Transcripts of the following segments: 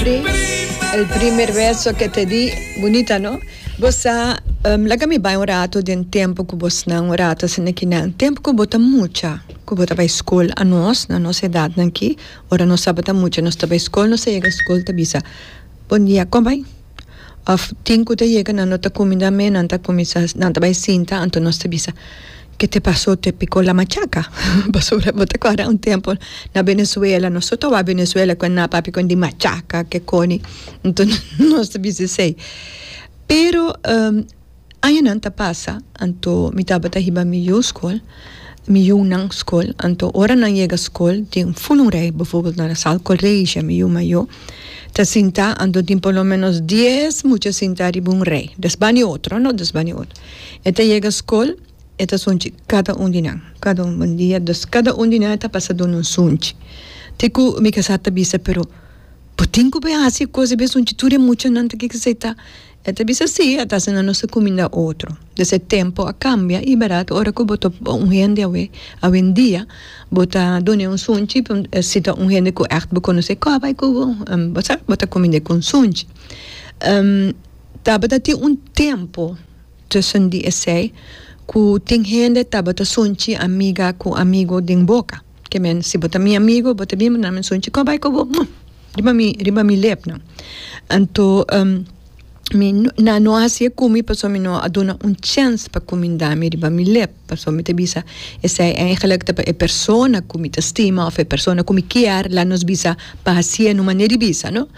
Henry, El primer beso que te di, bunita no? Bo sa, laga mi bai un rato den tempo ku bosnan un rato asina kinan, tempo ku bo ta mucha, ku bo ta bai skol, anos na nos edatnan aki, ora nos tabata mucha nos ta bai skol, nos ta yega skol ta bisa, Bon dia, kon bai? Of tin ku ta yega nan no ta kuminda me, nan ta kuminsa, nan ta bai sinta, anto nos ta bisa, Ke te paso? Te piko la machaka? Pasobra bo ta kòrda un tempu na Venezuela, nos tur ta wak Venezuela ku e nan papia kon di machaka, ke koni, anto nos ta bisa esei. Pero Añanan ta pasa, anto mi tabata hiba mi yu skol, mi yunan skol, anto ora nan yega skol tin ful un rei, bijvoorbeeld na Sal College mi yu mayo ta sinta, anto tin por lo menos dies mucha sinta riba un rei, des bani otro no, des bani otro. E ta yega skol, e ta sunchi kada un di nan, kada un bon dia, dus kada un di nan e ta pasa duna un sunchi. Te ku mi kasá ta bisa, pero bo tin ku bai hasi e kos, e bai sunchi tur e muchanan ta kiko esei ta. E ta bisa si, a ta asina nos ta kuminda otro. Des e tempo a kambia i bèrdat ora ku bo topa un hende awe, awendia, bo ta dun'e un sunchi, si ta un hende ku ègt bo konosé, kò bai ku bo? Bo sa, bo ta kumind'é ku un sunchi. Tabata tin un tempo tussen di esei ku tin hende tabata sunchi amiga ku amigo den boka. Ke men, si bo ta mi amigo, bo ta bin bo nan mi sunchi, kò bai ku bo? Riba mi, riba mi lepnan. Anto mi nan no a hasié ku mi pasobra mi no a duna un chèns pa kumindá mi riba mi lep, pasobra mi ta bisa esei eigenlijk ta pa e persona ku mi ta stima òf e persona ku mi kier laat nos bisa pa hasié na un manera di bisa no,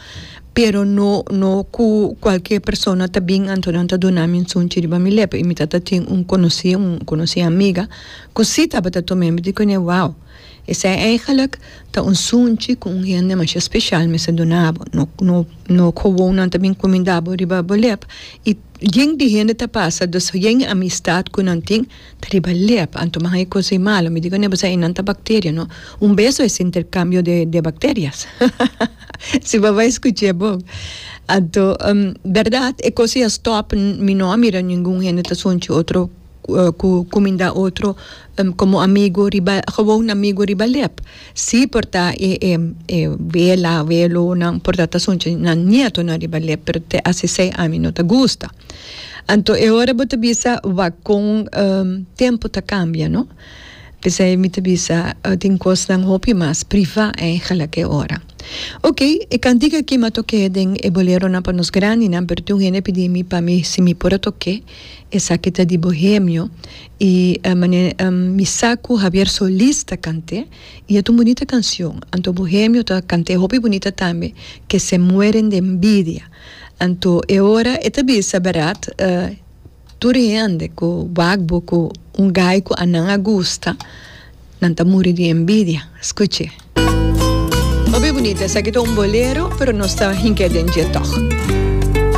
pero no no ku kualke persona ta bin anto nan ta duna mi un sunchi riba mi lep i mi ta tin un konosí un konosí amiga ku si tabata tum'é mi di kuné wou. Esei eigenlijk ta un sunchi ku un hende masha speshal mester duna bo. No, no, no gewoon nan ta bin kuminda bo riba bo lep. I yen di hende ta pasa, dus yen amistat ku nan tin ta riba lep. Anto mi haña e kos ei malo. Mi di kuné bo sa einan ta bakteria, no? Un beso es interkambio de de bakterias. Si bo bai skuch'é bon. Anto, bèrdat e kos ei a stòp, mi no a mira ningun hende ta sunchi otro. Ku kuminda otro komo amigu riba gewoon amigu riba lep. Si por ta e e e wela welonan por ta ta sunchi nan nietonan riba lep pero te asi esei ami no ta gusta. Anto e ora bo ta bisa wak kon tempo ta kambia no. P'esei mi ta bisa tin kosnan hopi mas priva eigenlijk e ora. Ok e kantika aki mi a tok'é den e boleronan pa nos grandinan pero tin un hende a pidi mi pa mi si mi por a tok'é. Esaki ta di Bohemio y manera mi sa cu Javier Solís ta cant'e y e ta un bunita cancion. Anto Bohemio ta cant'e hopi bunita tambe, Que se mueren de envidia. Anto e ora e ta bisa berdad tur hende cu wak bo cu un guy cu anan a gusta. Nan ta muri di envidia. Scuch'e. Hopi bunita. Esaki ta un bolero, pero nos ta hink'e den dje tog.